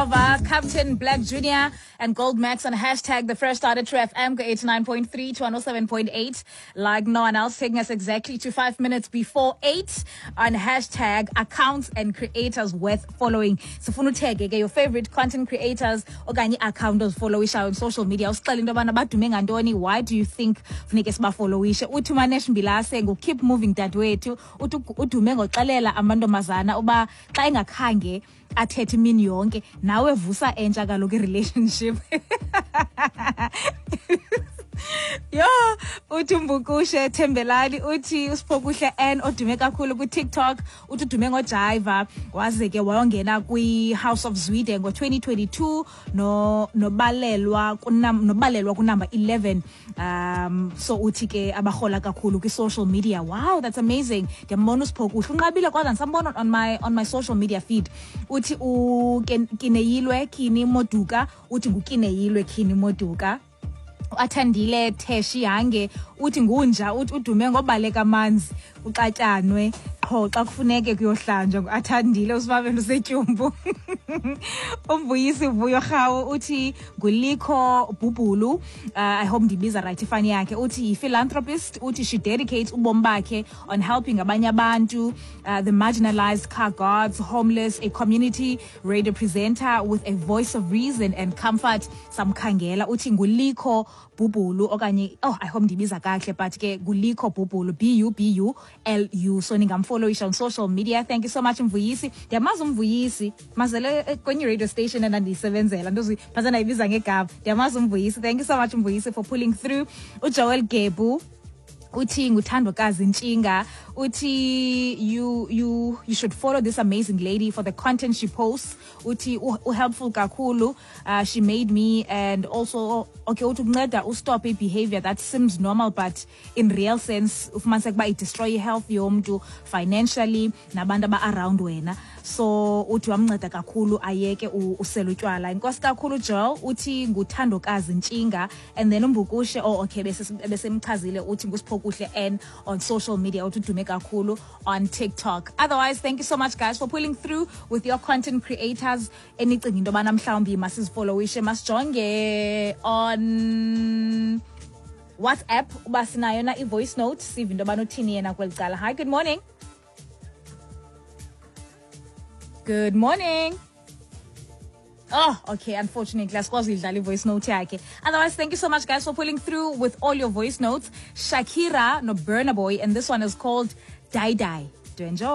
Shova, Captain Black Jr. and Gold Max on hashtag the fresh start at True FM 89.3 to 107.8. Like no one else, taking us exactly to 5 minutes before 8 on hashtag accounts and creators worth following. Sifuna uthege ke your favorite content creators okanye i-account ozifollowishayo on social media. Usixele into yobana badume ngantoni, why do you think funeke sibafollowishe? Uthi uManesh Mbilase ngu-keep moving dadewethu, uthi udume ngoxelela amantombazana uba xa engakhange athethe imini yonke nawe vusa entsha kaloku i-relationship. Yho, uthi uMbukushe Thembelani, uthi uSiphokuhle N odume kakhulu kuTikTok, uthi udume ngojiva waze ke wayongena kwi-House of Zwide ngo-2022 no nobalelwa kunumber 11. So uthi ke abarhola kakhulu kwi-social media. Wow, that's amazing. Ndiyambona uSiphokuhle, unqabile kodwa ndisambona on my social media feed. Uthi uKineyilwe Kini Moduka, uthi nguKineyilwe Kini Moduka. Athandile Theshi Hange uthi ngunja, uthi udume ngobaleka amanzi uxatyanwe qho xa kufuneke kuyohlanjwa. Ngu-Athandile uSibabelo usetyumbu. UMvuyisi Vuyo Rhawu uthi nguLikho Bhubhulu. I hope ndibiza right ifani yakhe. Uthi yi-philanthropist, uthi she dedicates ubomi bakhe on helping abanye abantu, the marginalized, car guards, homeless, a community radio presenter with a voice of reason and comfort. Samkhangela, uthi nguLikho Bhubhulu okanye, oh, I hope ndibiza kakuhle, but ke nguLikho Bhubhulu, Bubulu. So ningamfollowisha on social media. Thank you so much, Mvuyisi. Ndiyamazi uMvuyisi, mazele kwenye radio station endandiyisebenzela, ndozi phantse ndayibiza ngegama. Ndiyamazi uMvuyisi. Thank you so much, Mvuyisi, for pulling through. UJoel Gebu uthi nguthandokazi Ntshinga, uthi you should follow this amazing lady for the content she posts. Uthi u-helpful kakhulu. She made me and also, okay, uthi ukunceda ustop i-behavior that seems normal, but in real sense ufumaniseka uba idestroy i-health yomntu financially nabantu aba-around wena. So uthi wamnceda kakhulu ayeke usela utywala. Inkosi kakhulu, Joel. Uthi nguthandokazi Ntshinga. And then uMbukushe, oh okay, besemchazile, uthi nguSiphokuhle N on social media, uthi udume kakhulu on TikTok. Otherwise, thank you so much, guys, for pulling through with your content creators enicinga into yobana mhlawumbi masizifollowishe. Masijonge on WhatsApp uba sinayo na i-voice note, sive into yobana uthini yena kweli cala. Hi, good morning. Good morning. Oh, okay. Unfortunately, asikwazi uyidlala i-voice note yakhe. Otherwise, thank you so much, guys, for pulling through with all your voice notes. Shakira no Burna Boy, and this one is called Dai Dai. Do enjoy.